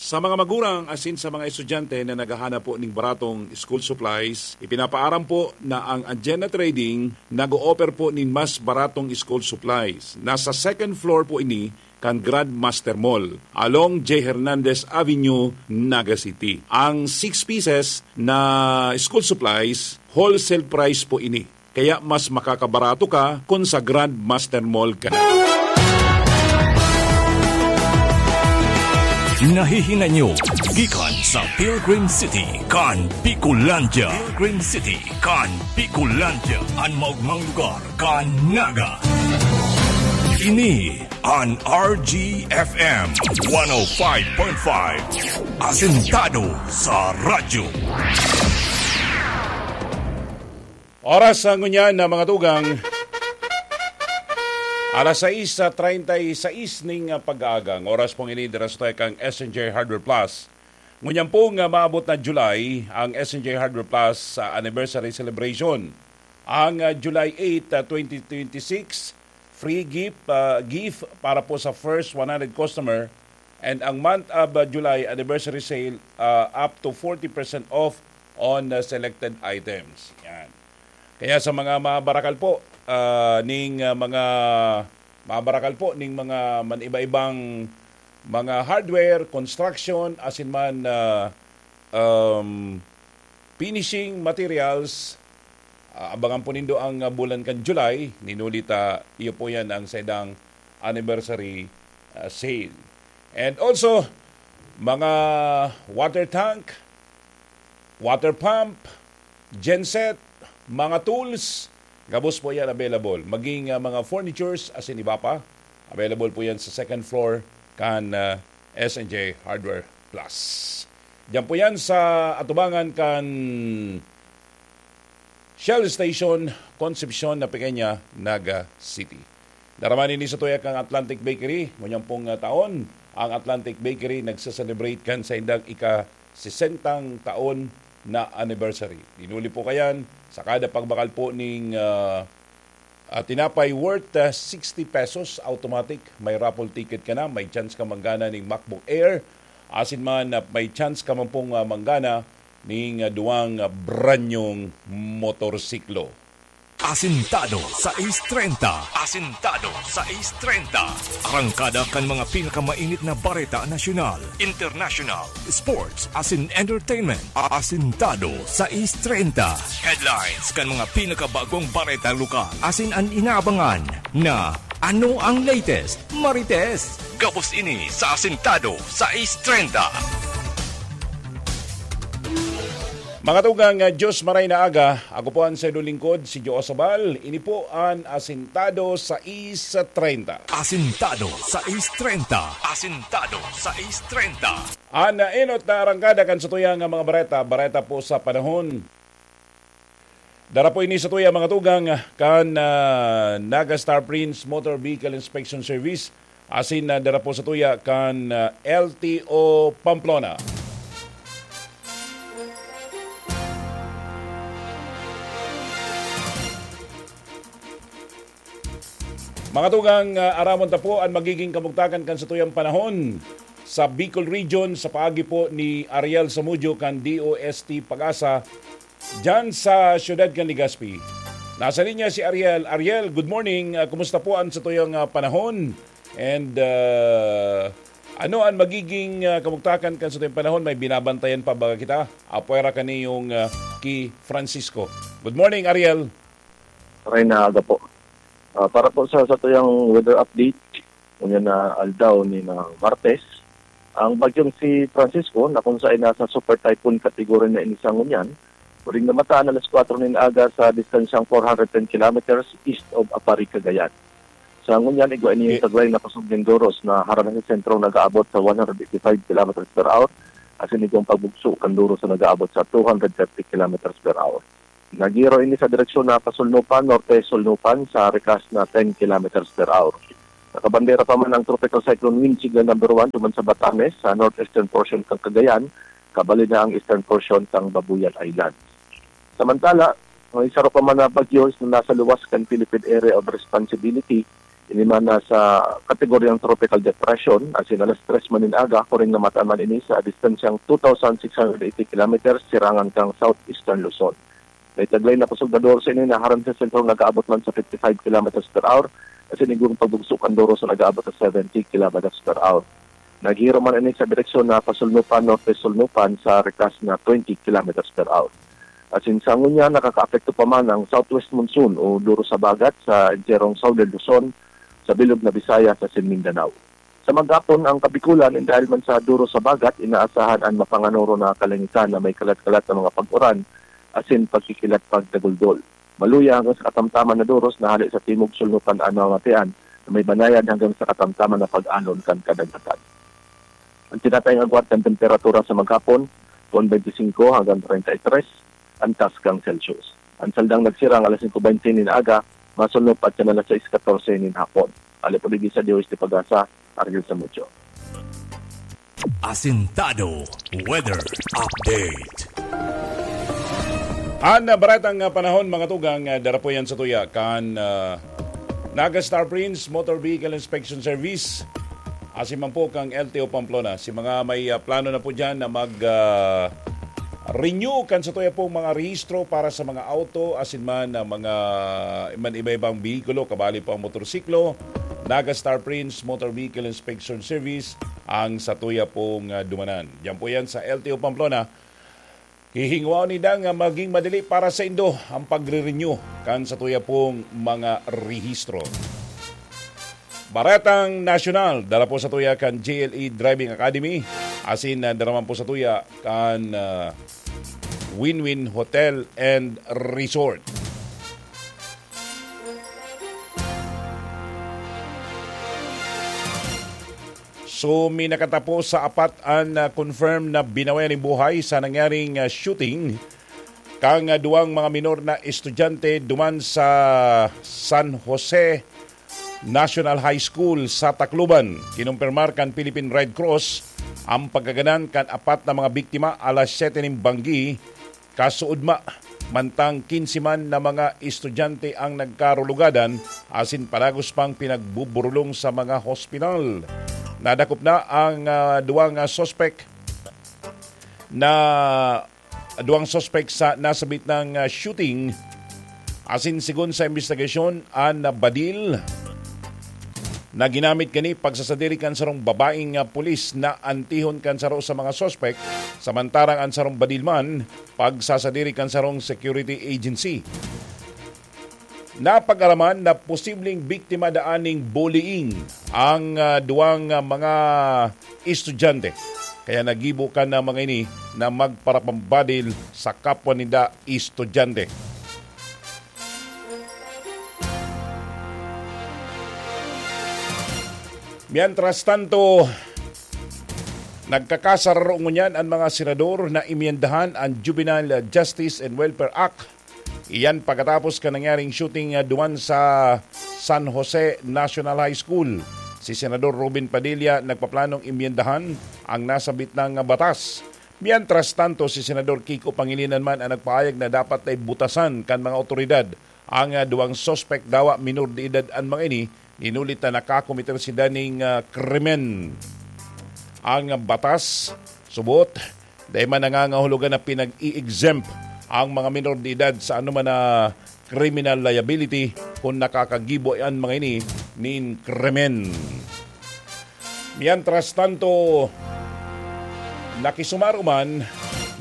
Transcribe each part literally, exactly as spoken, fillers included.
Sa mga magurang asin sa mga estudyante na naghahanap po ning baratong school supplies, ipinapaaram po na ang Agenda Trading nag-o-offer po nin mas baratong school supplies. Nasa second floor po ini kan Grandmaster Mall, along J. Hernandez Avenue, Naga City. Ang six pieces na school supplies, wholesale price po ini. Kaya mas makakabarato ka kun sa Grandmaster Mall ka na. Nahihinay nyo gikan sa Pilgrim City kan Bicolandia. Pilgrim City kan Bicolandia, an maogmang lugar kan Naga. Ini an R G F M one oh five point five. Asentado sa radyo. Oras sa ngunyan na mga tugang, alas sais treinta y seis ning, ah, pag-aaga. Ang oras pong ini, dira sa tayo kang S N J Hardware Plus. Ngunyan pong, ah, maabot na July ang S N J Hardware Plus, ah, anniversary celebration. Ang, ah, July eight, ah, twenty twenty-six, free gift, ah, gift para po sa first one hundred customer. And ang month of, ah, July anniversary sale, ah, up to forty percent off on, ah, selected items. Yan. Kaya sa mga mabarakal po, ah, ning, ah, mga mabarakal po ning mga man-iba-ibang mga hardware, construction, asin man, ah, um, finishing materials, ah, abangan po nindo ang, ah, bulan kan July. Ninuli ta, iyo po yan ang saidang anniversary, ah, sale. And also, mga water tank, water pump, genset, mga tools, gabos po yan available. Maging, ah, mga furnitures, asin iba pa, available po yan sa second floor kan, ah, S N J Hardware Plus. Diyan po yan sa atubangan kan Shell Station, Concepcion na Pequeña, Naga City. Daraman ini sa tuya kan Atlantic Bakery. Ngunyan pong, ah, taon, ang Atlantic Bakery nagse-celebrate kan saindang ika-sesentang taon na anniversary. Dinuli po kayan sa kada pagbakal po ning, ah, ah, tinapay worth, ah, sixty pesos, automatic. May raffle ticket ka na, may chance ka manggana ning MacBook Air. Asin man, ah, may chance ka man pong, ah, manggana ning, ah, duwang, ah, brand nyong motorsiklo. Asintado sais treinta. Asintado sais treinta. Arangkada kan mga pinakamainit na bareta nasyonal, international, sports, asin entertainment. Asintado sais treinta. Headlines kan mga pinakabagong bareta lokal. Asin an inaabangan na ano ang latest, Marites? Gabos ini sa Asintado sais treinta. Mga tugang, ah, Diyos maray na aga, ako po ang sayo lingkod, si Joe Sabal. Ini po an Asintado sais treinta. Asintado sais treinta. Asintado sais treinta. An, ah, enot na arangkada kan satuyang, ah, mga bareta, bareta po sa panahon. Dara po ini sa tuya, mga tugang, kan, ah, Naga Star Prince Motor Vehicle Inspection Service, asin, ah, dara po sa tuya kan, ah, L T O Pamplona. Mga tugang, ah, aramon ta po an magiging kamugtakan kan satuyang panahon sa Bicol Region sa paagi po ni Ariel Samudio kan D O S T Pag-asa, diyan sa siyudad kan Legazpi. Nasa linya si Ariel. Ariel, good morning. Ah, kumusta po an satuyang, ah, panahon? And, ah, ano an magiging, ah, kamugtakan kan satuyang panahon? May binabantayan pa ba kita? Apwera kaniyong, ah, ki Francisco. Good morning, Ariel. Maray na aga po. Ah, para po sa satuyang weather update, ngunyan na aldaw ni na Martes, ang bagyong si Francisco, na kung saan nasa super typhoon category na ini sa ngunyan, huling namataan alas kwatro nin aga sa distansyang four hundred ten kilometers east of Aparri, Cagayan. Sa ngunyan, igwa ini Eh. sa duway na kusog nin duros na harani sa sentrong nag-aabot sa one hundred eighty-five kilometers per hour, asin igwang pagbugso kan duros na nag-aabot sa two hundred thirty kilometers per hour. Naghihiro ini sa direksyon na pasulnupan, norte-sulnupan, sa rikas na ten kilometers per hour. Nakabandera pa man ang Tropical Cyclone Wind Signal Number One duman sa Batanes, sa northeastern portion kan Cagayan, kabali na ang eastern portion kan Babuyan Islands. Samantala, may saro pa man na bagyo na nasa luwas kan Philippine Area of Responsibility, Ini man na sa kategoryang tropical depression, asin alas tres man nin aga, kuring na mataman ini sa distansyang two thousand six hundred eighty kilometers sirangan kan southeastern Luzon. May taglay na kusog na doros ini na harani sa sentrong nag-aabot man sa fifty-five kilometers per hour, asin igong pagbugso kan doros na nag-aabot sa seventy kilometers per hour. Naghihiro man ini sa direksyon na pasulnupan-norte-sulnupan sa rikas na twenty kilometers per hour. Asin sa ngunyan, nakakaapekto pa man ang southwest monsoon o doros sa bagat sa enterong southern Luzon, sa bilog na Visayas asin Mindanao. Sa maghapon, ang Kabikulan, dahil man sa doros sa bagat, inaasahan an mapanganoro na kalangitan na may kalat-kalat na mga pag-uran asin pagkikilat pagdaguldol. Maluya hanggang sa katamtaman na doros na hale sa timog sulnutan an mamatian na may banayad hanggang sa katamtaman na pag-alon kan kadagatan. Ang tinatayang agwat kan temperatura sa maghapon, twenty-five hanggang thirty-three an tasgang Celsius. Ang saldang nagsirang alas singko bente nin aga, masulnop at kan alas sais katorse nin hapon. Hale po digdi sa D O S T Pag-asa, Argel Samudio. Asintado Weather Update. Ang, ah, baretang, ah, panahon, mga tugang, ah, dara po yan sa tuya kan, ah, Naga Star Prince Motor Vehicle Inspection Service. Asin man po kang L T O Pamplona. Si mga may, ah, plano na po dyan na mag, ah, renew kan sa tuya pong mga rehistro para sa mga auto, asin man, ah, mga man iba-ibang behikulo, kabali po ang motorsiklo, Naga Star Prince Motor Vehicle Inspection Service ang sa tuya pong, ah, dumanan. Diyan po yan sa L T O Pamplona. Hihinguaon ninda nga maging madali para sa indo ang pagre-renew kan sa tuya pong mga rehistro. Baretang Nasyonal, dala po sa tuya kan J L E Driving Academy, asin, ah, dara man po sa tuya kan, ah, Win-Win Hotel and Resort. So, minakatapo sa apat an, ah, confirm na binawian nin buhay sa nangyaring, ah, shooting kan, ah, duwang mga minor na estudyante duman sa San Jose National High School sa Tacloban. Kinumpirmar kan Philippine Red Cross ang pagkagadan kan apat na mga biktima alas siyete nin banggi kasuodma, mantang kinse man na mga estudyante ang nagkarulugadan asin padagos pang pinagbuburulong sa mga hospital. Nadakop na ang, ah, duwang, ah, suspek na, duwang suspek sa nasabit na, ah, shooting. Asin sigon sa imbestigasyon, an badil na ginamit kani pagsasadiri kan sarong babaeng, ah, pulis na antihon kan saro sa mga suspek, samantarang an sarong badil man pagsasadiri kan sarong security agency. Napag-araman na posibleng biktima daan ning bullying ang, ah, duwang, ah, mga estudyante. Kaya nagibo kan, ah, mga ini na magparapambadil sa kapwa ninda estudyante. Mientras tanto, nagkakasararo ngunyan an mga senador na imyendahan an Juvenile Justice and Welfare Act. Iyan pagkatapos kan nangyaring shooting, ah, duman sa San Jose National High School. Si Senador Robin Padilla nagpaplanong imyendahan ang nasabit na batas. Mientras tanto, si Senador Kiko Pangilinan man ang nagpahayag na dapat na ibutasan kan mga otoridad ang, ah, duwang suspek, dawa minor de edad an mga ini, inulit na nakakomiter sinda ning, ah, krimen. Ang batas, subot, dai man nangangahulugan na pinag-i-exempt ang mga minor de edad sa anoman na criminal liability kun nakakagibo an mga ini nin krimen. Mientras tanto, nakisumaro man,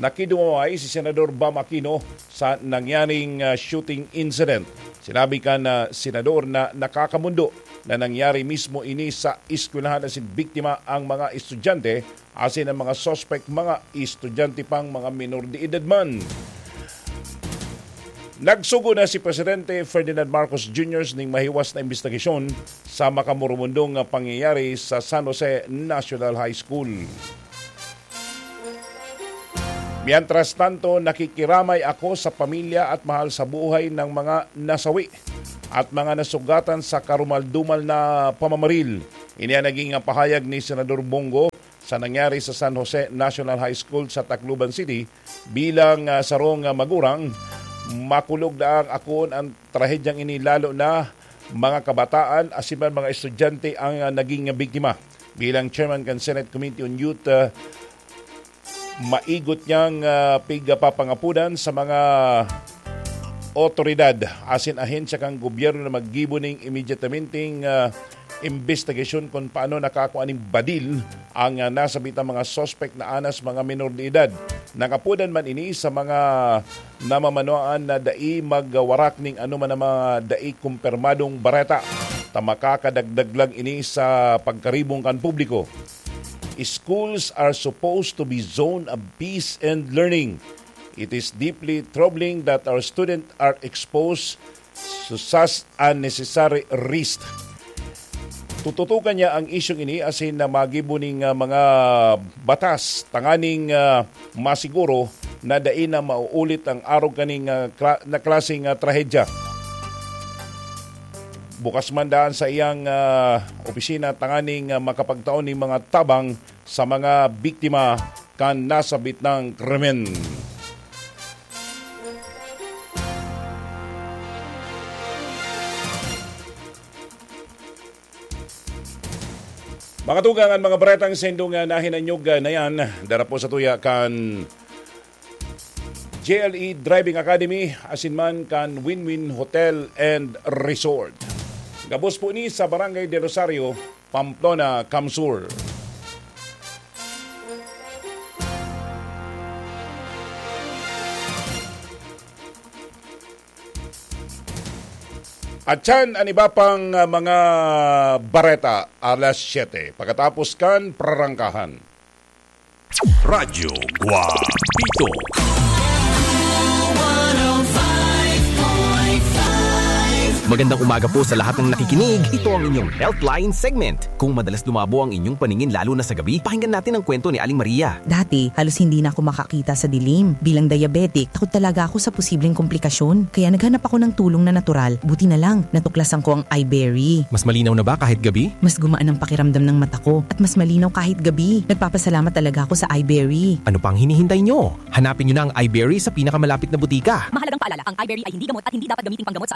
nakidumaway si Senador Bam Aquino sa nangyaring, ah, shooting incident. Sinabi kan, ah, senador na nakakamondo na nangyari mismo ini sa eskwelahan asin biktima ang mga estudyante asin ang mga suspek mga estudyante pang mga minor de edad man. Nagsugo na si Presidente Ferdinand Marcos Junior ning mahiwas na imbestigasyon sa makamurumundong pangyayari sa San Jose National High School. Mientras tanto, nakikiramay ako sa pamilya at mahal sa buhay ng mga nasawi at mga nasugatan sa karumal-dumal na pamamaril. Ini ang naging pahayag ni Senador Bong Go sa nangyari sa San Jose National High School sa Tacloban City. Bilang, ah, sarong, ah, magurang, makulog na ang akoon ang trahedyang ini, lalo na mga kabataan asin man mga estudyante ang, ah, naging biktima. Bilang chairman kan Senate Committee on Youth, ah, maigot niyang, ah, pigpapangapodan sa mga otoridad asin ahensya kan gobyerno na maggibo nin immediatamente, ah, imbestigasyon kun paano nakakua nin badil ang, ah, nasabitang mga suspek na anas mga menor de edad. Nakapodan man ini sa mga namamanuan na dai magwarak nin anoman na mga dai kumpirmadong bareta, ta makakadagdag lang ini sa pagkaribong kan publiko. Schools are supposed to be zone of peace and learning. It is deeply troubling that our students are exposed to such unnecessary risk. Tututukan niya ang isyung ini asin na magibo ning, ah, mga batas tanganing, ah, masiguro na dai na mauulit ang arog kaning, ah, kla-, na klaseng, ah, trahedya. Bukas man daan sa iyang, ah, opisina tanganing, ah, makapagtao nin mga tabang sa mga biktima kan nasabit na krimen. Mga tugang, an mga baretang saindo nga nahinanyog, ah, na yan, dara po sa tuya kan J L E Driving Academy, asin man kan Win-Win Hotel and Resort. Gabos po ni sa Barangay Del Rosario, Pamplona, CamSur. At yan an iba pang, ah, mga bareta alas siyete. Pagkatapos kan prarangkahan. Radyo Guapito. Magandang umaga po sa lahat ng nakikinig. Ito ang inyong Healthline segment. Kung madalas lumabo ang inyong paningin lalo na sa gabi, pakinggan natin ang kwento ni Aling Maria. Dati, halos hindi na ako makakita sa dilim. Bilang diabetic, takot talaga ako sa posibleng komplikasyon. Kaya naghanap ako ng tulong na natural. Buti na lang, natuklasan ko ang Iberry. Mas malinaw na ba kahit gabi? Mas gumaan ang pakiramdam ng mata ko at mas malinaw kahit gabi. Nagpapasalamat talaga ako sa Iberry. Ano pang hinihintay nyo? Hanapin nyo na ang Iberry sa pinakamalapit na butika. Mahalagang paalala, ang Iberry ay hindi gamot at hindi dapat gamiting panggamot.